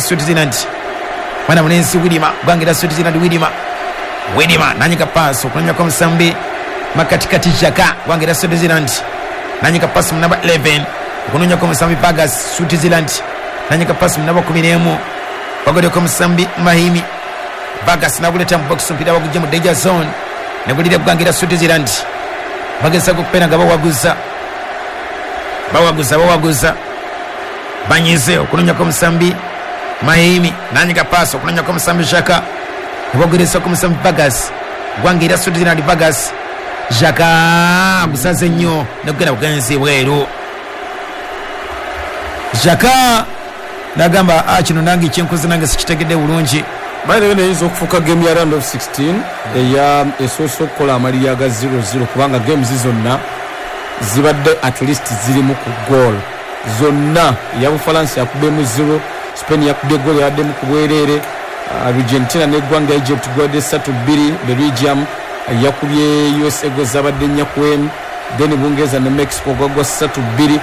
Switzerland. Mwana mulenzi Widima, ggwanga erya Switzerland. Widima, Widima nanyiga paasi okunonyako omusambi makatikati Jaka, ggwanga erya Switzerland, nanyiga paasi mu namba 11 okunonyako omusambi Vargas. Switzerland nanyiga paasi mu namba 11, bagoddeko omusambi Mahimi. Vargas naguleta mu box, omupiira bagujja mu danger zone, negulira eggwanga erya Switzerland. Bagezako okubeera nga bawaguza, bawaguza, bawaguza, banyize okunonyako omusambi Mahimi, nanyiga paasi okunonyako omusambi Jaka, nebagerezako omusambi Vargas, ggwanga erya Switzerland. Vargas, Jaka gusaze nnyo negugenda bugenzi bweru. Jaka nagamba, "Ah, kino nange kyenkoze nange sikitegedde bulungi." By the way, neyinza okufuuka game ya round of 16 eya esoose okukola amaliri aga 0-0, kubanga games zonna zibadde at least zirimu ku goal zonna. Eya Bufalansa yakubyemu 0, Spain yakubye goal yabaddemu ku bwereere, Argentina neggwanga Egypt gwadde 3-2, Belgium yakubye USA go zabadde 4-1, then Bungereza ne Mexico gwagwa 3-2.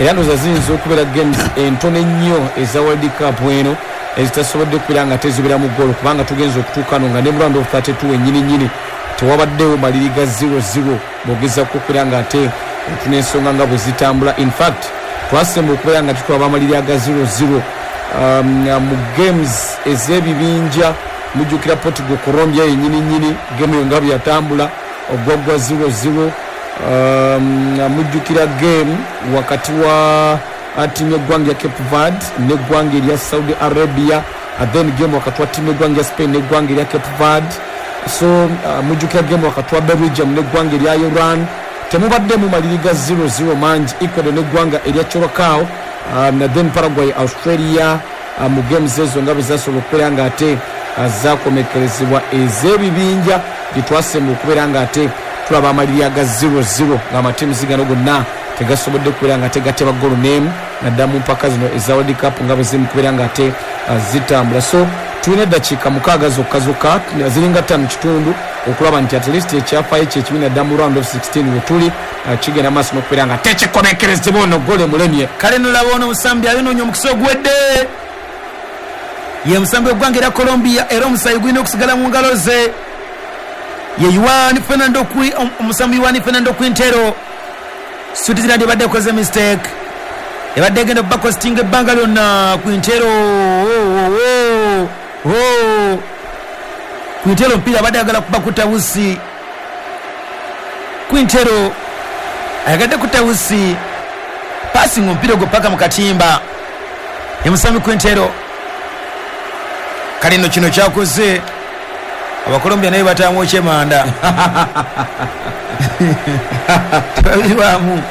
Era ndowooza ziyinza okubeera games entono ennyo eza World Cup eno ezitasobodde kubeera nga teziberamu goal, kubanga tugenza okutuuka no nga ne mu round of 32 wennyini nyini tewabaddewo maliri ga 0-0. Bwogezako okubeera nga ate otuna ensonga nga bwe zitambula, in fact twasemba okubeera nga tutwaba amaliri aga 0-0 mu games ez'ebibinja. Mujjukira Portugal Colombia yennyini nyini, game eyo nga bwe yatambula ogwaggwa 0-0. Mujjukira game wakati wa tiimu y'eggwanga ya Cape Verde n'eggwanga erya Saudi Arabia, then game wakati wa tiimu y'eggwanga ya Spain n'eggwanga erya Cape Verde. So mujjukira game wakati wa Belgium n'eggwanga erya Iran. Temubaddemu maliri ga 0-0 mangi. Ecuador n'eggwanga erya Curacao, then Paraguay, Australia, mu games ezo nga bwe zasobola okubeera nga ate zakomekerezebwa ez'ebibinja, gyetwasemba okubeera nga ate tulaba amaliri aga 0-0 ng'amatiimu gano gonna tegasobodde kubeera nga tegateba golo n'emu, naddala mu mpaka zino eza World Cup nga bwe ziri mu kubeera nga ate zitambula. So tulina eddakiika 6 zokka zokka, ziringa 5 kitundu, okulaba nti at least ekyafaayo kyekibi naddala mu round of 16 wetuli kigenda maaso n'okubeera nga tekikomekerezebwa. Ono golo emulemye. Kale nolaba ono omusambi ayonoonya omukisa oguwedde, ye musambi w'eggwanga erya Colombia, era omusayi gulina okusigala mu ngalo ze, ye Juan Fernando, omusambi Juan Fernando Quintero. Switzerland ebadde ekoze mistake ebadde egenda okubacostinga ebbanga lyonna. Quintero, oh, oh, oh, oh. Quintero omupiira abadde ayagala kuba kutawusi. Quintero ayagadde kutawusi passing omupiira ogwo paka mu katimba, emusambi Quintero. Kale nno kino kyakoze Abakolombia naye bataamu okyemanda tebabirwamu.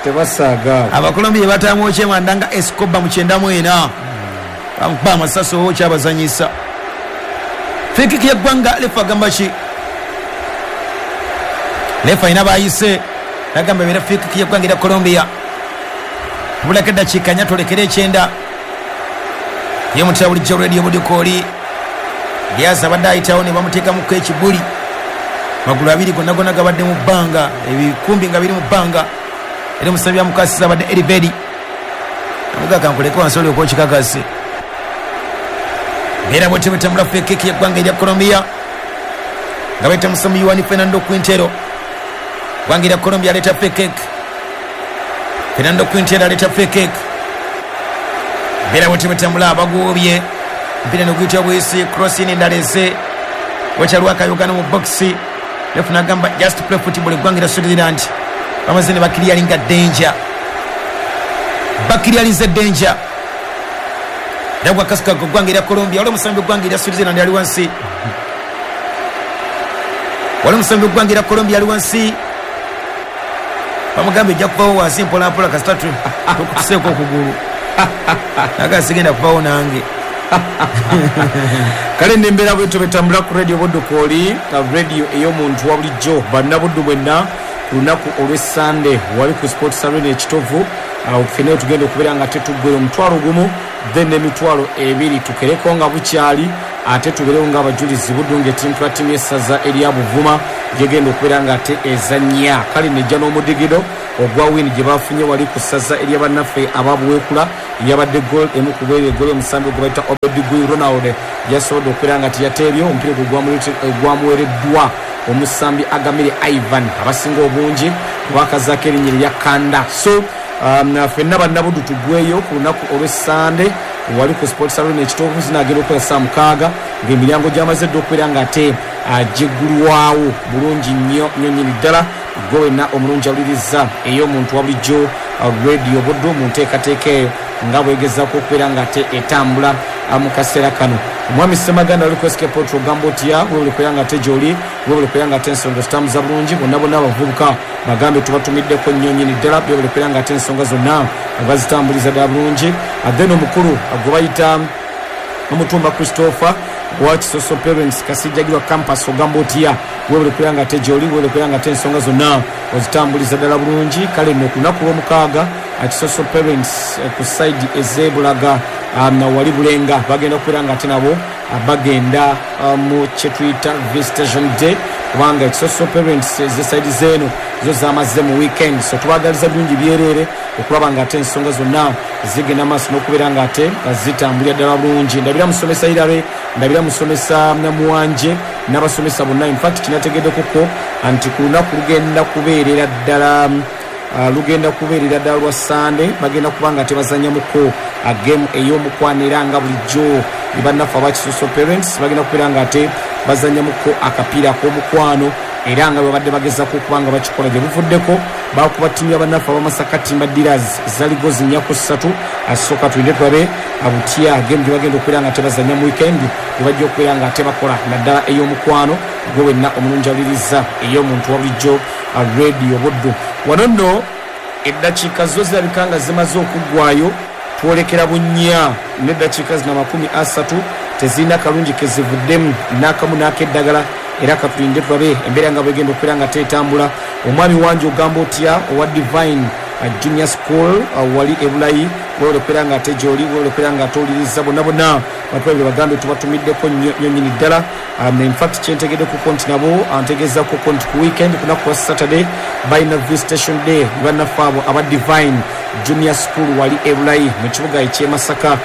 Tebasaaga. Abakolombia bataamu okyemanda nga Escoba mu 94 bamukuba amasasi oba okyabazanyisa. Free kick yeggwanga, lefa agamba ki? Lefa alina bayise, nagamba ebeera free kick yeggwanga erya Colombia. Tubulako eddakiika 4 twolekere 90. Ye mutera bulijjo Radio Budikooli. Diaz abadde ayitawo ne bamuteekamuko ekibuli, magulu abiri gonna gonna gabadde mu bbanga, ebikumbi nga biri mu bbanga, era omusambi amukasiza abadde Eriveri, amuga kankuleke wansi olyoka okikakase. Mbeera bwetyo bwetambula. Free kick yeggwanga erya Colombia nga bayita musambi Juan Fernando Quintero, ggwanga erya Colombia aleeta free kick. Fernando Quintero aleeta free kick. Mbeera bwetyo bwetambula, bagobye mpira neguyitibwa bwisi, crossing endala eze wakyalwakayogana mu boxi. Ref nagamba just play football. Eggwanga erya Switzerland bamaze ne baclearinga danger, baclearinze danger era gwakasuka eggwanga erya Colombia. Wali omusambi eggwanga erya Switzerland ali wansi, wali omusambi eggwanga erya Colombia ali wansi, bamugamba ejja kuvawo wansi mpolampola kasita tokutuseeko okugulu, naga sigenda kuvawo nange. Kale nembeera bwetyo betambula ku Radio Budukooli, radio ey'omuntu wa bulijjo. Bannabuddu bwenna, ku lunaku olw'Essande wali ku Sports Arena Ekitovu, awo ffenna tugenda okubeera nga tetuggwera 10,000, then n'20,000 tukereko nga bukyali. Ate tubeerewo ng'abajulizi Buddu ng'etimpula ttiimu y'essaza erya Buvuma gyegenda okubeera nga ate ezannya. Kale nejja n'omudigido ogwa win gye bafunye wali ku ssaza erya bannaffe ababuweekula, yabadde goal emu ku bweru, eggoolo omusambi gwe bayita Obed Gui Ronald yasobodde okubeera nga teyateebye omupiira ogwo gwamuweereddwa omusambi Agamire Ivan, abasinga obungi bakazaako erinnya erya Kanda. So ffenna bannabuddu tugweyo ku lunaku olw'Essande wali ku Sports Arena Ekitoovu, zinaagenda okukola saa 6 ng'emiryango gyamaze dda okubeera nga ate giggulwawo bulungi nnyo nnyo nnyini ddala. Gwe wenna omulungi awuliriza ey'omuntu wa bulijjo Radio Buddu mu nteekateeka eyo nga bwegezaako okubeera nga ate etambula mu kaseera kano. Omwami Ssemaganda ali ku SK Potro, ogamba otya? Webale kubeera nga ate gy'oli, webale kubeera nga ate ensonga zitambuza bulungi. Bonna bonna abavubuka bagambe tubatumiddeko nnyo nnyini ddala, webale kubeera nga ate ensonga zonna bazitambuliza ddala bulungi. Then omukulu gwe bayita Omutumba Christopher wa Kisoso Parents Kasijjagirwa Campus, ogamba otya? Webale kubeera nga ate gy'oli, webale kubeera nga ate ensonga zonna ozitambuliza ddala bulungi. Kale nno ku lunaku lw'omukaaga Kisoso Parents ku saidi ez'Ebulaga wali Bulenga bagenda kubeera nga ate nabo bagenda mu kyetuyita visitation day, kubanga Kisoso Parents ez'esaidi z'eno zo zamaze mu weekend. So tubagaliza birungi byereere okulaba nga ate ensonga zonna zigenda maaso n'okubeera nga ate zitambulira ddala bulungi. Ndabira musomesa Irare, ndabira musomesa Muwanje n'abasomesa bonna. Infact kinategeddekoko nti ku lunaku lugenda kubeerera ddala lugenda kubeerera ddala lwa Sande, bagenda kuba nga tebazanyamuko game ey'omukwano, era nga bulijjo bannaffe aba Kisoso Parents bagenda kubeera nga ate bazanyamuko akapiira ak'omukwano, era nga bwe babadde bagezaako okuba nga bakikola gye buvuddeko bakuba ttiimu y'abannaffe abamasaka Timba Dealers zaligo 4-3. Asooka tulinde tulabe butya game gye bagenda okubeera nga tebazanya mu weekend gye bajja okubeera nga tebakola, naddala ey'omukwano. Gwe wenna omulungi awuliriza ey'omuntu wa bulijjo Radio Buddu, wano nno eddakiika zo zirabika nga zimaze okuggwayo, twolekera bunnya n'eddakiika zino 30, tezirina kalungi kezivuddemu n'akamu n'akeddagala, era katulinde tulabe embeera nga bwegenda okubeera nga teetambula. Omwami wange ogamba otya owa Divine Junior School wali Ebulayi? Webale okubeera nga ate gyoli, webale okubeera nga atowuliriza. Bonna bonna batulabire bagambe tubatumiddeko nnyo nnyo nnyini ddala. Infact kyentegeddekuko nti nabo antegeezakoko nti ku weekend ku lunaku lwa Saturday balina visitation day, bannaffe abo aba Divine Junior School wali Ebulayi mu kibuga eky'e Masaka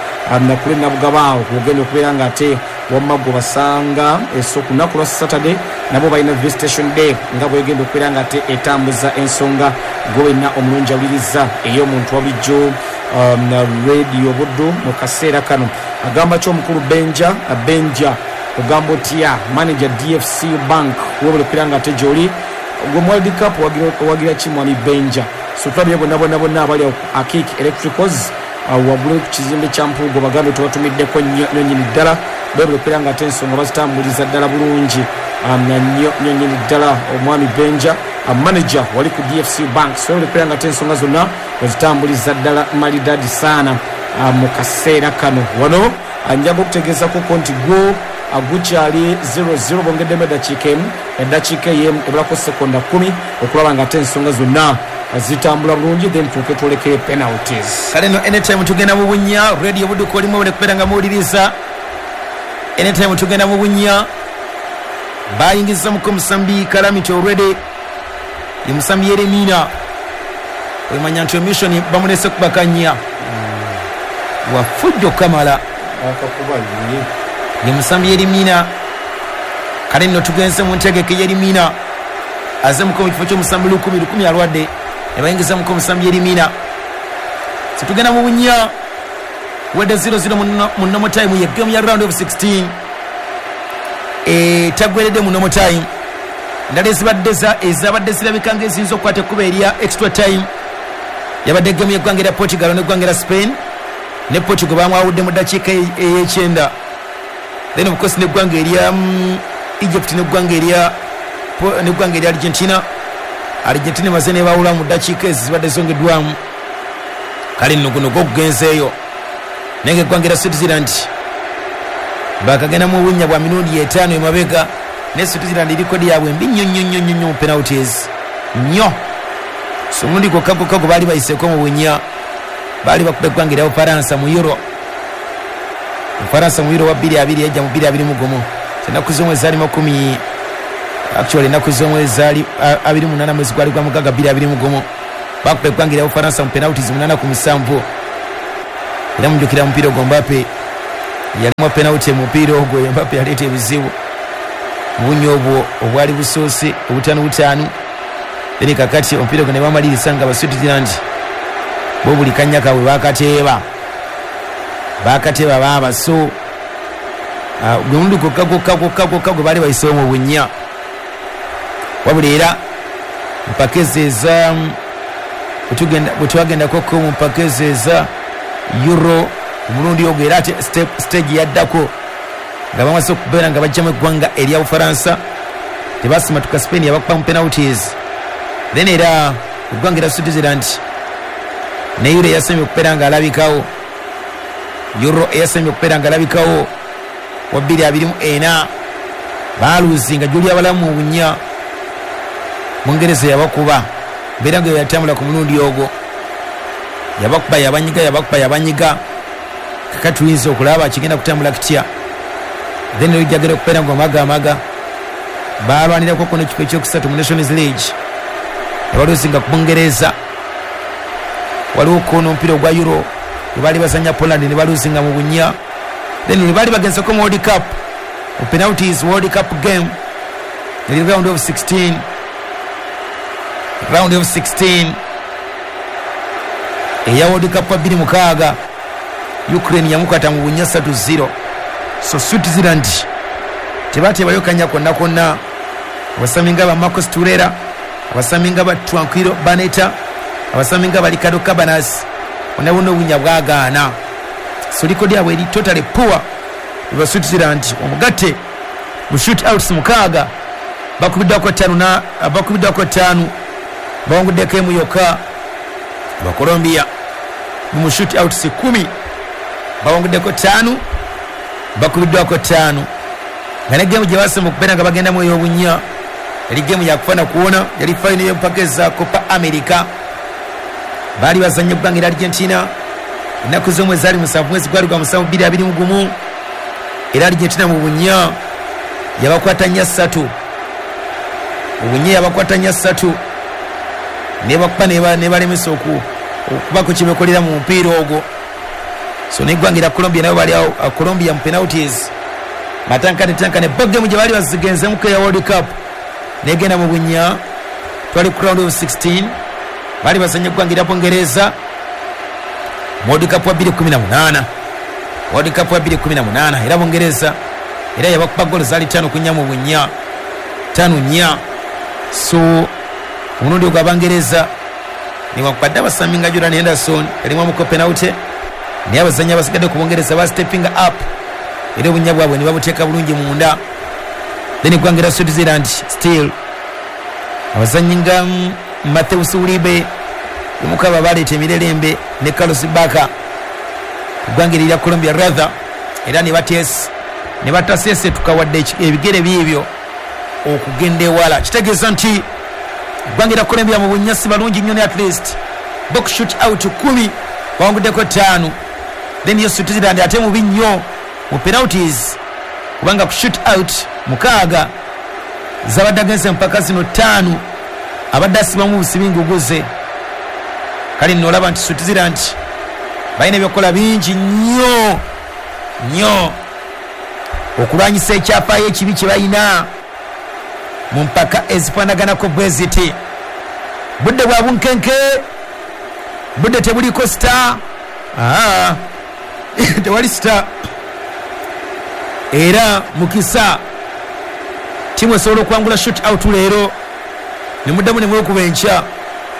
nakule Nabugaba awo wogenda okubeera nga ate wamma gwe basanga. So ku lunaku lwa Saturday nabo balina visitation day nga bwegenda okubeera nga ate etambuza ensonga. Gwe wenna omulungi awuliriza ey'omuntu wa bulijjo Radio Buddu mu kaseera kano, agamba ki omukulu Benja? Benja ogamba otya, manager DFC Bank? Webale okubeera nga ate gyoli. Gwe mu World Cup owagira ki, mwami Benja? So tulabye bonna bonna bonna abali awo ku Akik Electricals waggulu ku kizimbe kya Mpuugo, bagambe tubatumiddeko nnyo nnyo nnyini ddala. Bwebale okubeera nga ate ensonga bazitambuliza ddala bulungi nnyo nnyo nnyini ddala. Omwami Benja, manager wali ku DFC Bank, so webale okubeera nga ate ensonga zonna ozitambuliza ddala malidadi saana mu kaseera kano. Wano njaga okutegeezakoko nti gwo gukyali 00, bongeddemu eddakiika emu, eddakiika ey'emu ebulako sekonda 10 okulaba nga ate ensonga zonna zitambula bulungi, then tuuke twolekere penalties. Kale no anytime tugenda mu bunnya. Radio Budduka olimu obule kubeera nga muwuliriza, anytime tugenda mu bunnya. Bayingiza muko musambi Calamity already, ye musambi Yeremina. Wemanya nti omissoni bamulese kubakanya wafujjo kamala. Akakuba ye. Ye musambi Yerimina. Kale nno tugenze mu ntegeke. Yerimina aze muko mu kifo ky'omusambi Lukumi. Lukumi alwadde, ne bayingiza muko omusambi Yerimina. Situgenda mu bunnya wedde 00 mu normal time ye game ya round of 16 etagweredde mu normal time. Endala ezibadde ezabadde zirabika nga eziyinza okukwata ekkuba erya extra time yabadde game y'eggwanga erya Portugal n'eggwanga erya Spain, ne Portugal bamwawudde mu ddakiika ey'ekyenda. Then of course n'eggwanga erya Egypt n'eggwanga erya Argentina, Argentina emaze nebawula mu ddakiika ezo zibadde zongeddwamu. Kale nno guno gwokugenzeeyo, naye nga eggwanga erya Switzerland bakagenda mu bunnya bwa mirundi etaano emabega, ne Switzerland erikodi yaabwe mbi nnyo nnyo nnyo nnyo nnyo mu penalties nnyo. So omulundi gwokka gwokka gwe baali bayiseeko mu bunnya, baali bakuba eggwanga erya Bufaransa mu Euro. Ufaransa mu Euro wa 2020 yajja mu 2021. Ennaku z'omwezi zaali makumi, actually ennaku z'omwezi zaali 28 mwezi gwali gwa mugaga 2021. Bakuba eggwanga erya Bufaransa mu penalties 8-7. Era mujjukira omupiira ogwo Mbappe yalimu penalty mu mupiira ogwo, Mbappe yaleeta ebizibu bunyo obwo obwali busoose obutaano butaano. Then kakati omupiira ogwo ne bamaliriza nga Abaswitzerland bo buli kanya kaabwe bakateeba baaba. So gwe mulundi gwokka gwokka gwokka gwokka gwe baali bayiseewo mu bunnya. Wabula era mpaka ezo eza bwe twagendakoko mu mpaka ezo eza Euro omulundi ogwo, era ate stage yaddako nga bamaze okubeera nga bajjamu eggwanga erya Bufaransa, tebasimatuka Spain yabakuba mu penalties. Then era eggwanga erya Switzerland ne Euro eyasembye okubeera nga alabikawo, Euro eyasembye okubeera nga alabikawo wa 2024 baaluzinga Julia Balamu mu bunnya, Bungereza yabakuba mbeera nga yatambula ku mulundi ogwo, yabakuba yabanyiga yabakuba yabanyiga. Kakati tuyinza okulaba kigenda kutambula kitya. Then olujjagera okubeera nga omagamaga balwanirako ko n'ekifo ekyokusatu mu Nations League abaluzinga ku Bungereza. Waliwo ko n'omupiira ogwa Euro bwe baali bazannya Poland ne baluzinga mu bunnya. Then lwe baali bagenzeko mu World Cup mu penalties, World Cup game eri round of 16, round of 16 eya World Cup wa 2006 Ukraine yamukwata mu bunnya 3-0. So Switzerland tebateebayo kanya konna konna. Abasambi nga ba Marcos Torreira, abasambi nga ba Tranquillo Barnetta, abasambi nga ba Ricardo Cabanas, bonna bonna obunya bwagaana. So likodi yabwe eri totally poor. Eba Switzerland omugatte mu shoot outs 6 bakubiddwako 5 na bakubiddwako 5 bawanguddeko emu yokka. Abacolombia mu shoot outs 10 bawanguddeko 5 bakubiddwako 5. Nga ne gemu gye basemba okubeera nga bagendamu ey'obunnya yali gemu yakufa na kuwona, yali final y'empaka eza Copa America. Baali bazannya eggwanga erya Argentina ennaku z'omwezi zaali 7 mwezi gwali gwa 7 2021. Era Argentina mu bunnya yabakwata nnya 3, obunnya yabakwata nnya 3 nebakuba nebalemesa okubako kye bekolera mu mupiira ogwo. So n'eggwanga erya Colombia nabo bali awo, Colombia mu penalties matankane bo gemu gye baali bazigenzemuko eya World Cup negenda mu bunnya. Twali ku round of 16 baali bazannya eggwanga erya Bungereza mu World Cup wa 2018, World Cup wa 2018. Era Bungereza era yabakuba ggoolo zaali 5-4 mu bunnya, 5-4. So omulundi ogwo Abangereza newankubadde abasambi nga Jordan Henderson yalimu amuko penalty, naye abazannyi abasigadde ku Bungereza ba stepping up era obunnya bwabwe ne babuteeka bulungi munda. Then eggwanga erya Switzerland still abazannyi nga Matheus Uribe omukaba baleeta emirerembe ne Carlos Bacca eggwanga erya Colombia rather, era ne bataseesetuka wadde ebigere byebyo okugenda ewala. Kitegeeza nti eggwanga erya Colombia mu bunnya si balungi nnyo, ne at least box shoot out 10 bawanguddeko 5. Then yo Switzerland ate mubi nnyo mu penalties kubanga ku shoot out 6 zabadde agenze mpaka zino 5 abadde asibamu busibi nguguze. Kale nno olaba nti Switzerland balina ebyokukola bingi nnyo nnyo okulwanyisa ekyafaayo ekibi kye balina mu mpaka ezifaanaganako bwe ziti. Budde bwa bunkenke, budde tebuliko star, tewali star. Era mukisa timu esobola okuwangula shoot out leero ne muddamu ne mwekuba enkya,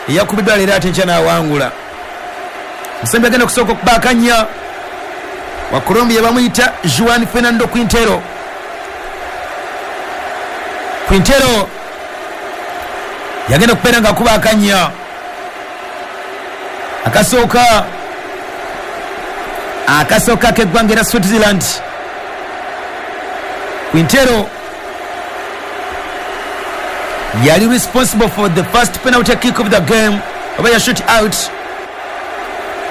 eyakubiddwa leero ate enkya n'awangula. Musambi agenda okusooka okuba akannya wa Colombia bamuyita Juan Fernando Quintero. Quintero yagenda okubeera nga akuba akannya akasooka k'eggwanga erya Switzerland. Quintero yali responsible for the first penalty kick of the game oba ya shoot out.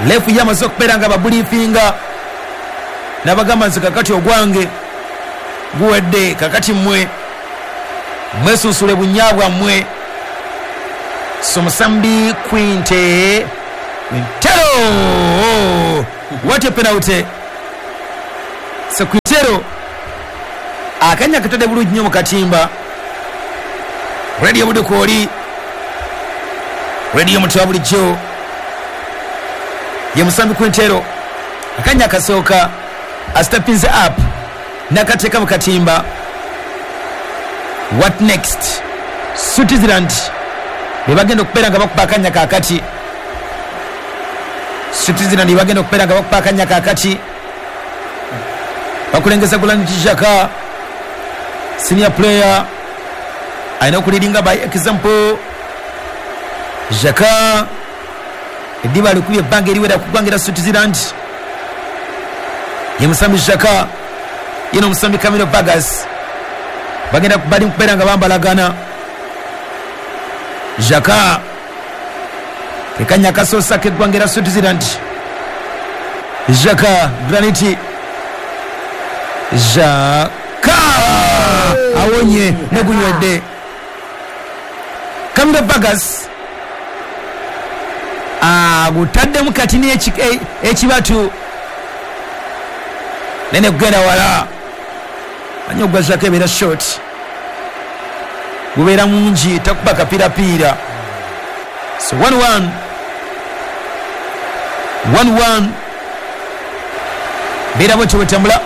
Lefu yamaze okubeera nga babuliifinga N'abagamba nze kakati ogwange guwedde, kakati mmwe mwesunsule bunnya bwammwe. So musambi Quintero, what a penalty. So Quintero akanya katadde bulungi nnyo mu katimba. Radio Budukooli, radio mutwa bulijjo ye musambi Quintero akanya kasooka astepinze up nakateeka mu katimba. What next? Switzerland bebagenda okubeera nga bakuba akanya kaakati. Switzerland bebagenda okubeera nga bakuba akanya kaakati. Bakulengeza Granit Xhaka, senior player, alina okuleadinga by example. Xhaka eddiba alikubye ebbanga eriwera ku ggwanga erya Switzerland. Ye musambi Xhaka, ye n'omusambi Camilo Vargas bagenda bali kubeera nga bambalagana. Xhaka kekanya kasoosa k'eggwanga erya Switzerland. Xhaka, Granit Xhaka awonye negunywedde. Camilo Vargas agutaddemu kati ekibatu nene kugenda wala. Manyi ogwa Xhaka ebeera short, gubeera mungi, takuba kapirapiira. So 1-1 1-1 beera bwetyo bwetambula.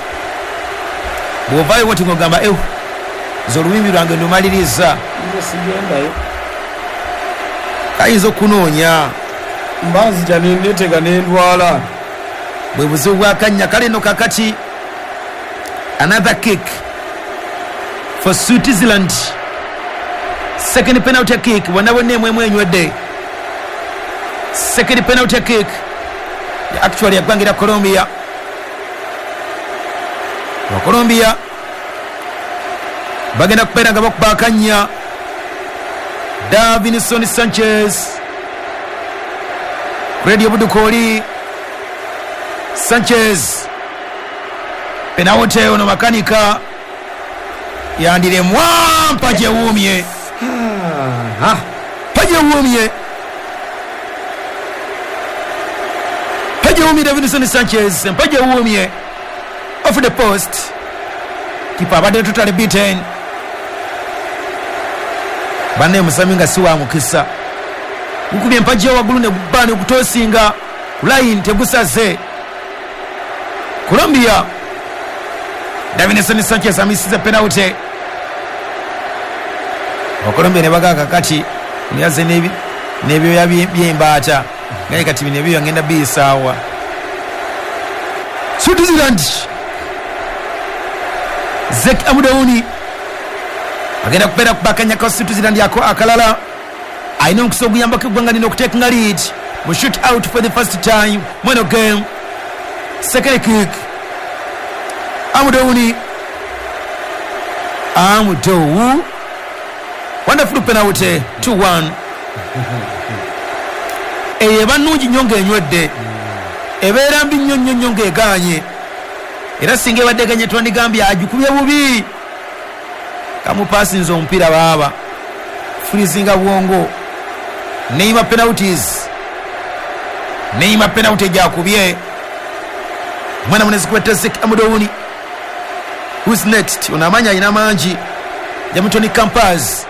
Bw'ovaayo bwoti ng'ogamba nze olubimbi lwange ndumaliriza, sigendayo, kayinza okunoonya mbanzija nenetega nendwala. Bwe buzibu bw'akannya. Kale nno kakati another kick for Switzerland, second penalty kick. Bonna bonna emwemu enywedde. Second penalty kick actually yaggwanga erya Colombia. Wa Colombia bagenda kubeera nga bakuba akannya. Davinson Sanchez, Radio Budukooli. Sanchez penalty ono makanika yandiremwa mpajewuumye, mpajewuumye, mpajewuumye. Davinson Sanchez mpajewuumye off the post. Kipa abadde totally beaten. Banne musami nga si wa mukisa, gukubye empagi waggulu ne gubba ne gutosinga line tegusaze. Colombia, Davinson Sanchez amisiza penalty. Colombia ne baga kakati niyaze n'ebyoya by'embaata ngaye kati bino ebyoya ngenda biyisaawa. Switzerland, Zek Amudauni agenda kubeera kubakanya ka Switzerland ako akalala. Alina omukisa oguyambako eggwanga lino okutekinga lead mu shoot out for the first time mweno game. Second kick, Amudauni, Amudou, wonderful penalty, 2-1. Eyo eba nnungi nnyo ng'enywedde, ebeera mbi nnyo nnyo nnyo ng'egaanye. Era singa ebadde eganye twandigambye agikubye bubi. Kamupasinze omupiira baaba freezinga bwongo. Neymar penalties, Neymar penalty gyakubye. Omwana munezi kwetta Zek Amudauni. Who's next? Ono amaanyi alina mangi, Jamutoni Campaz.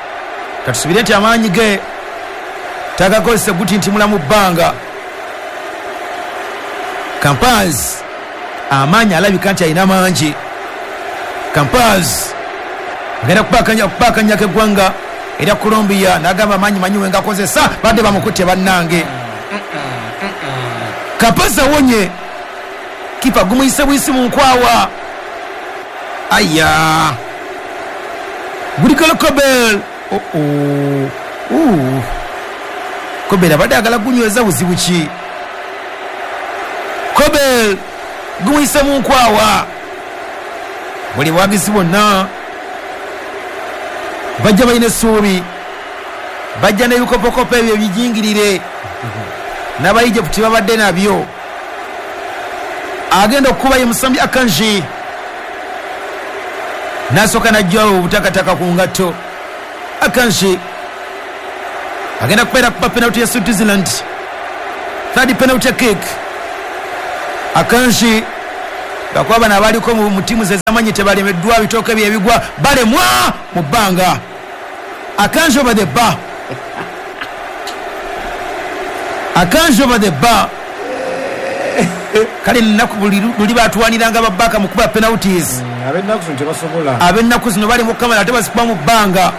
Katusubire nti amaanyi ge tagakozesa guti nti mulamu bbanga. Campaz amaanyi alabika nti alina mangi. Campaz agenda kubakanyako eggwanga erya Colombia n'agamba amaanyi manyi we ngakozesa, badde bamukutte bannange. Campaz awonye, kipa gumuyise buyisi mu nkwawa. Aya, gulikolo Kobel. Kobel abadde agala gunyweza buzibu ki? Kobel gumuyise mu nkwawa. Buli bwagizi bonna bajja balina essuubi, bajja n'ebikopokopo ebyo ebijingirire n'Abaegypt babadde nabyo. Agenda okukuba ye musambi Akanji, nasooka najjawo obutakataka ku ngatto. Akanji agenda kubeera kuba penalty ya Switzerland, third penalty kick. Akanji bakuba bano abaliko mu tiimu ze zamanyi tebalemeddwa bitooke byebigwa balemwa mu bbanga. Akanji over the bar, Akanji over the bar. Kale nnaku buli luli batwaniranga babaka mu kuba penalties. Ab'ennaku zino tebasobola. Ab'ennaku zino bali mu kamera ate bazikuba mu bbanga.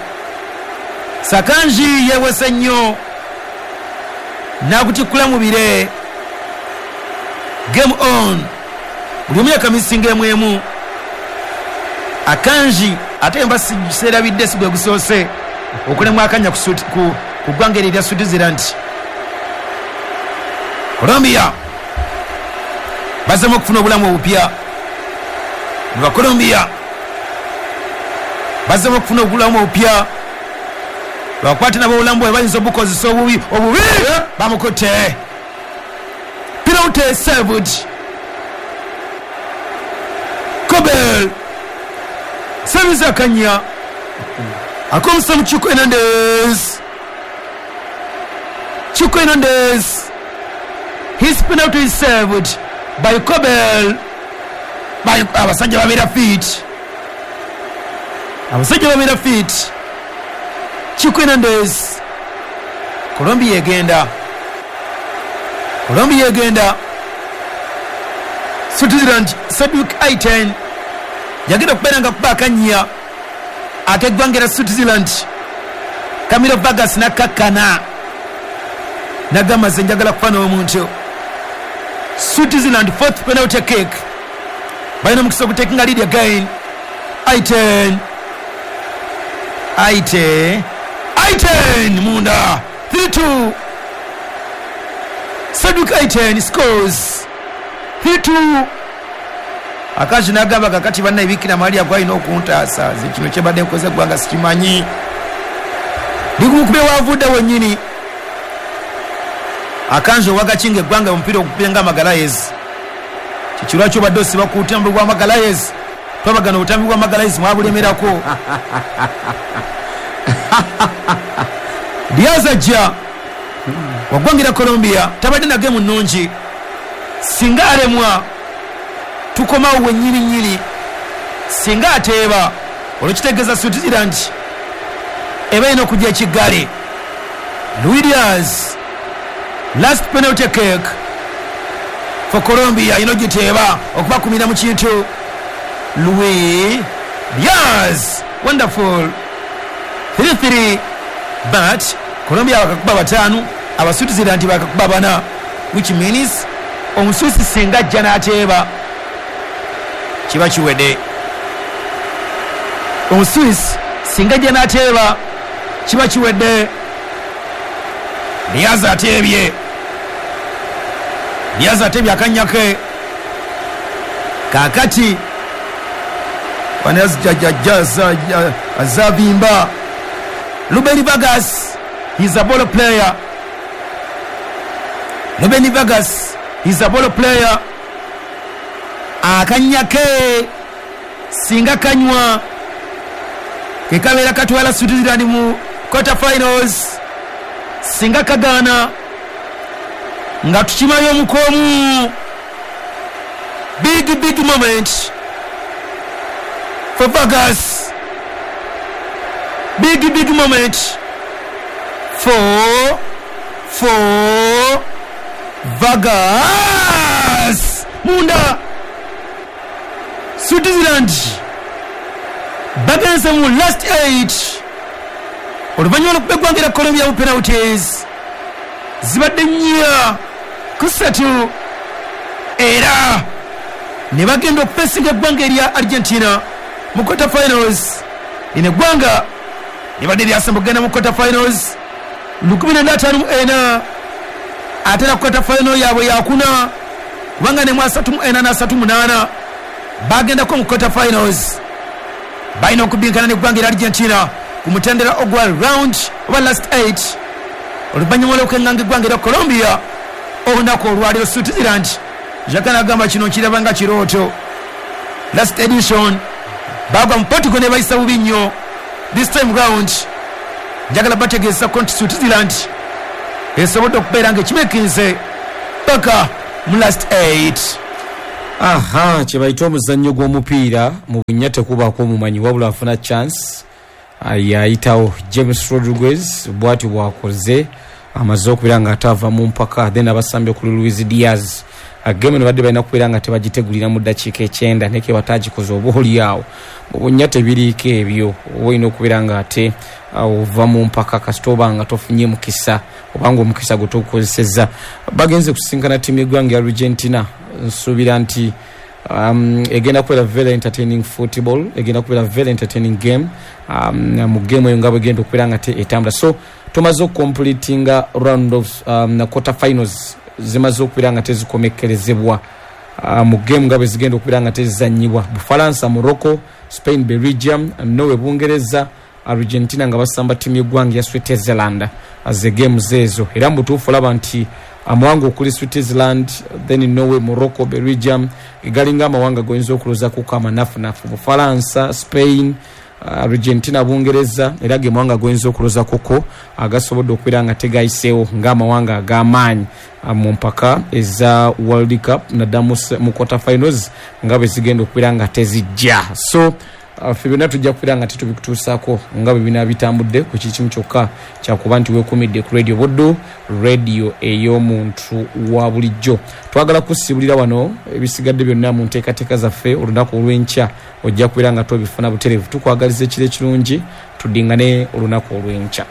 Sakanji yeewese nnyo n'akutikkula mu bire. Game on, buli omu yakamisinga emu emu. Akanji ate mba seerabidde si gwe gusoose okulemwa akanya ku ggwanga eryo erya Switzerland. Colombia bazemu okufuna obulamu obupya. Ba Colombia bazemu okufuna obulamu obupya, bakwate nabo obulamu bwe bayinza obukozesa obubi obubi. Bamukutte penalty saved. Kobel service akanya akomsa mu Chico Hernandez. Chico Hernandez, his penalty is saved by Kobel. Abasajja babeera fit, abasajja babeera fit. Chico Hernandez, Colombia egenda, Colombia egenda. Switzerland, Cedric Aiten yagenda okubeera nga kuba akanya ak'eggwanga erya Switzerland. Camilo Vargas n'akkakkana n'agamba nze njagala kufa n'omuntu. Switzerland fourth penalty kick, balina omukisa ogutekinga lead again. Aiten, Aiten, Aiten munda 3-2. Cedric Aiten scores 3-2. Akaji n'agamba kakati banna ebikira Maria gwalina okuntaasa, nze kino kyebadde nkoze eggwanga sikimanyi. Likumukube wavudde wennyini. Akanji owagakinga eggwanga omupiira ogukubye nga Magalhaes. Kiki lwaki obadde osiba ku butambi bwa Magalhaes? Twabagana obutambi bwa Magalhaes mwabulemerako. Diaz ajja waggwangira Colombia, tabadde na gemu nnungi. Singa alemwa tukomawo wennyini nnyini. Singa ateeba olwekitegeeza Switzerland eba erina okujja ekiggale. Luis Diaz, last penalty kick for Colombia, ino giteeba okubakumira mu kintu. Luis Diaz, wonderful. 3-3, but Colombia bakakuba 5, Abaswitzerland bakakuba 4, which means Omuswisi singa ajja n'ateeba kiba kiwedde. Omuswisi singa ajja n'ateeba kiba kiwedde. Diaz ateebye, Diaz ateebye akanya ke. Kaakati azabimba. Ruben Vargas, he's a ball player. Ruben Vargas, he's a ball player. Akanya ke singa kanywa kekabeera katwala Switzerland mu quarter finals. Singa kagaana nga tukimayo omukomu. Big big moment for Vargas. Big big moment for Vargas. Munda Switzerland bagenze mu last 8 oluvannyuma lw'okuba eggwanga erya Colombia mu penalties zibadde 4-3, era ne bagenda okufacinga eggwanga erya Argentina mu quarter finals. Lino eggwanga libadde lyasemba okugenda mu quarter finals 1954, ate na quarter final yaabwe yakuna kubanga ne mu 34 na 38 bagendako mu quarter finals. Balina okubinkana n'eggwanga erya Argentina ku mutendera ogwa round oba last 8 oluvannyuma lw'okwenganga eggwanga erya Colombia olunaku olwaleero. Switzerland Xhaka nagamba kino kiraba nga kirooto. Last edition bagwa mu Portugal ne bayisa bubi nnyo. This time round njagala bategeeza ko nti Switzerland esobodde okubeera nga ekimekinze paka mu last 8. Aha, kyebayita omuzannyo gw'omupiira mu bunnya tekubaako omumanyi, wabula afuna chance yayitawo. James Rodriguez bwatyo bwakoze, amaze okubeera nga ate ava mu mpaka. Then abasambye kuli Luis Diaz, game eno badde balina kubeera nga tebagitegulira mu ddakiika 90, naye ke batagikoze oba oli awo mu bunnya tebiriiko ebyo, oba olina okubeera nga ate ova mu mpaka kasita oba nga tofunye mukisa, obanga omukisa gwe togukozesezza. Bagenze kusisinkana ttiimu y'eggwanga ya Argentina. Nsuubira nti egenda kubeera very entertaining football, egenda kubeera very entertaining game. Mu game eyo nga bwegenda okubeera nga te etambula, so tumaze okucompletinga round of quarter finals, zimaze okubeera nga tezikomekkerezebwa. Mu game nga bwe zigenda okubeera nga tezizannyibwa, Bufalansa, Morocco, Spain, Belgium, Norway, Bungereza, Argentina nga basamba ttiimu y'eggwanga ya Switzerland, ze games ezo. Era mu butuufu olaba nti amawanga okuli Switzerland, then Norway, Morocco, Belgium galinga amawanga goyinza okulowoozakuko amanafunafu. Bufalansa, Spain, Argentina, Bungereza era ge mawanga goyinza okulowoozakuko agasobodde okubeera nga tegayiseewo ng'amawanga ag'amaanyi mu mpaka eza World Cup, naddala mu quarter finals nga bwe zigenda okubeera nga tezijja. So ffe byonna tujja kubeera nga tetubikutuusaako nga bwe bina bitambudde. Ku kikimu kyokka kyakuba nti weekumidde ku Radio Buddu, radio ey'omuntu wa bulijjo. Twagala kusibulira wano, ebisigadde byonna mu nteekateeka zaffe olunaku olw'enkya ojja kubeera nga tobifuna butereevu. Tukwagaliza ekiro ekirungi, tuddingane olunaku olw'enkya.